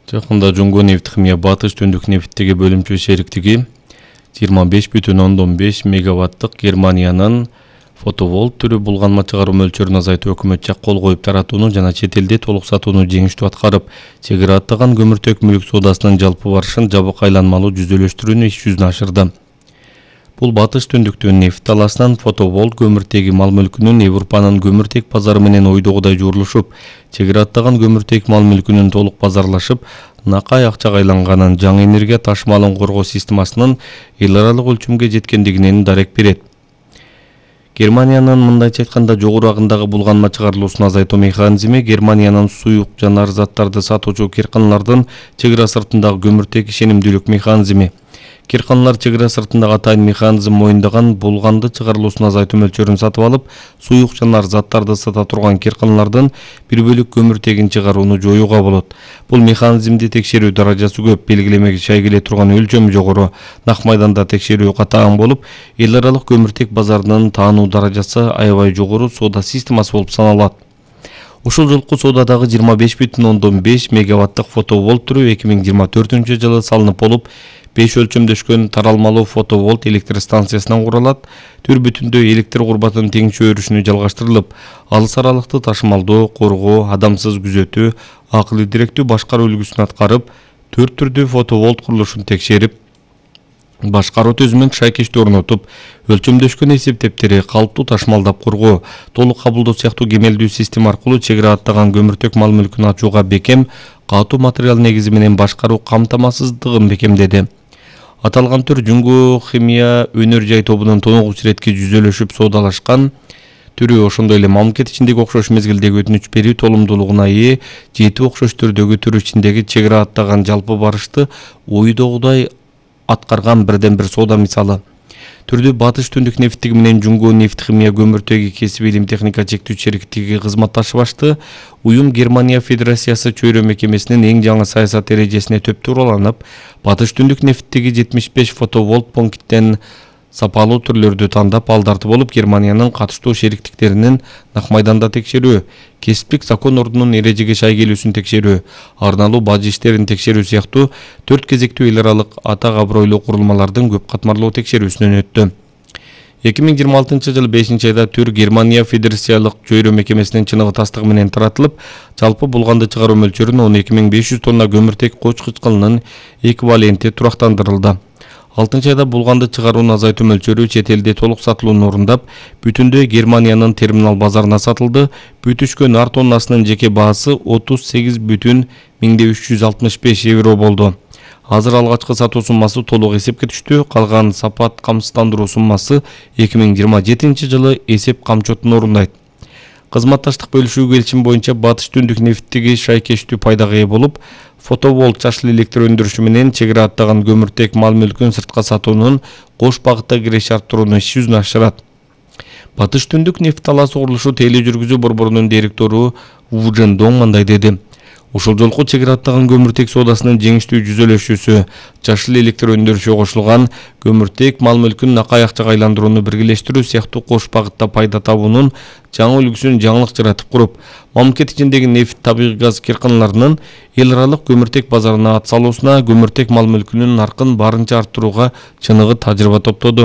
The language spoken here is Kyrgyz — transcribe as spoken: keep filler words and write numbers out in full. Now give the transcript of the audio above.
Жакында Жуңго нефт химия Батыш Түндүк нефттеги бөлүмчө шериктиги жыйырма беш бүтүн ондон беш мегаваттык Германиянын фотоволт түрү булганма чыгаруу мөлчөрүн азайтуу өкмөткө кол коюп таратууну жана чет элде толук сатууну жеңиштүү аткарып, чек ара аттаган көмүртек мүлк соодасынын жалпы барышын жабык айланмалуу жүзөлөштүрүүнү иш жүзүнө ашырды. Бул Батыш Түндүктүн нефт талаасынан фотоволт көмүртеги мал мүлкүнүн Европанын көмүртек базары менен ойдогудай жуурулушуп, чек ара аттаган көмүртек мал мүлкүнүн толук базарлашып, накай акчага айланганын, жаңы энергия ташымалын коргоо системасынын эл аралык өлчөмгө жеткендигинен дарек берет. Германиянын мындайча айтканда жогору агындагы булганма чыгарылуусун азайтуу механизми Германиянын суюк жанар заттарды сатуучу кирканалардын чек ара сыртындагы көмүртек ишенимдүүлүк механизми. Кирканалар чек ара сыртындагы атайын механизм моюндаган булганды чыгарылуусун азайтуу мөлчөрүн сатып алып, суюк жанар заттарды сата турган кирканалардын бир бөлүк көмүртегин чыгарууну жоюуга болот. Бул механизмди текшерүү даражасы көп, белгилемеге шай келе турган өлчөмү жогору, нак майданда текшерүү катаан болуп, эл аралык көмүртек базарынын таануу даражасы аябай жогору соода системасы болуп саналат. Ушул жолку соодадагы жыйырма беш бүтүн ондон беш мегаваттык фотоволт түрү эки миң жыйырма төртүнчү жылы салынып болуп, беш өлчөмдөшкөн таралмалуу фотоволт электр станциясынан куралат. Түр бүтүндө электр курбатынын теңчө өрүшүнө жалгаштырылып, алыс аралыкты ташымалдоо, коргоо, адамсыз күзөтүү, акылы директүү башкаруу үлгүсүн аткарып, төрт түрдүү фотоволт курулушун текшерип, башкаруу түзүмүн шайкештүү орнотуп, өлчөмдөшкөн эсептептери калыптуу ташымалдап коргоо, толук кабылдоо сыяктуу кемелдүү система аркылуу чек ара аттаган көмүртек мал мүлкүн ачууга бекем, катуу материал негизи менен башкаруу камтамасыздыгын бекемдеди. Аталган түр Жуңго химия өнөр жай тобунун тоногуч иретки жүзөлөшүп соодалашкан түрү, ошондой эле мамлекет ичиндеги окшош мезгилдеги өтүнүч берүү толумдуулугуна ээ жети окшош түрдөгү түр ичиндеги чек ара аттаган жалпы барышты ойдогудай аткарган бирден бир соода мисалы. Түрдү Батыш Түндүк нефттеги менен Жуңго нефт химия көмүртеги кесип илим техника чектүү шериктиги кызматташып ашты. Уюм Германия Федерациясы чөйрө мекемесинин эң жаңы саясат эрежесине төп туураланып, Батыш Түндүк нефттеги жетимиш беш фотоволт пункттен сапалуу түрлөрдү тандап, алдарды болуп Германиянын катыштуу шериктиктеринин нак майданда текшерүү, кесиптик закон ордунун эрежеге шай келүүсүн текшерүү, арналуу бажы иштерин текшерүү сыяктуу төрт кезектүү эл аралык атак абройлуу курулмалардын көп катмарлуу текшерүүсүнөн өттү. эки миң жыйырма алтынчы жылы бешинчи айда түр Германия Федерациялык чөйрө мекемесинин чыныгы тастыгы менен таратылып, жалпы булганды чыгаруу мөлчөрүн он эки миң беш жүз тонна көмүртек коч кычкылынын эквиваленти турактандырылды. алтынчы айда булганды чыгарууну азайтуу мөлчөрү чет элде толук сатылууну орундап, бүтүндөй Германиянын терминал базарына сатылды. Бүтүшкөн ар тоннасынын жеке баасы отуз сегиз бүтүн миңде үч жүз алтымыш беш евро болду. Азыр алгачкы сатуу суммасы толук эсепке түштү. Калган сапат камсыздандыруу суммасы эки миң жыйырма жетинчи жылы эсеп камчотун орундайт. Кызматташтык бөлүшүү келишими боюнча Батыш Түндүк нефттеги шайкештүү пайдага ээ болуп, фотоволт жашыл электр өндүрүшү менен чек ара аттаган көмүртек мал мүлкүн сыртка сатуунун кош багытта киреше арттырууну иш жүзүнө ашырат. Батыш Түндүк нефт талаасы курулушу тележүргүзүү борборунун директору Ву Жен Дong мындай деди. Ушул жолку чек ара аттаган көмүртек соодасынын жеңиштүү жүзөлөшүүсү, жашыл электр өндүрүшү кошулган көмүртек мал мүлкүн накай акчага айландырууну биргелештирүү сыяктуу кош багытта пайда табуунун жаңы үлгүсүн жаңылык жаратып куруп, мамлекет ичиндеги нефт, табигый газ кирканаларынын эл аралык көмүртек базарына ат салуусуна, көмүртек мал мүлкүнүн наркын барынча арттырууга чыныгы тажрыйба топтоду.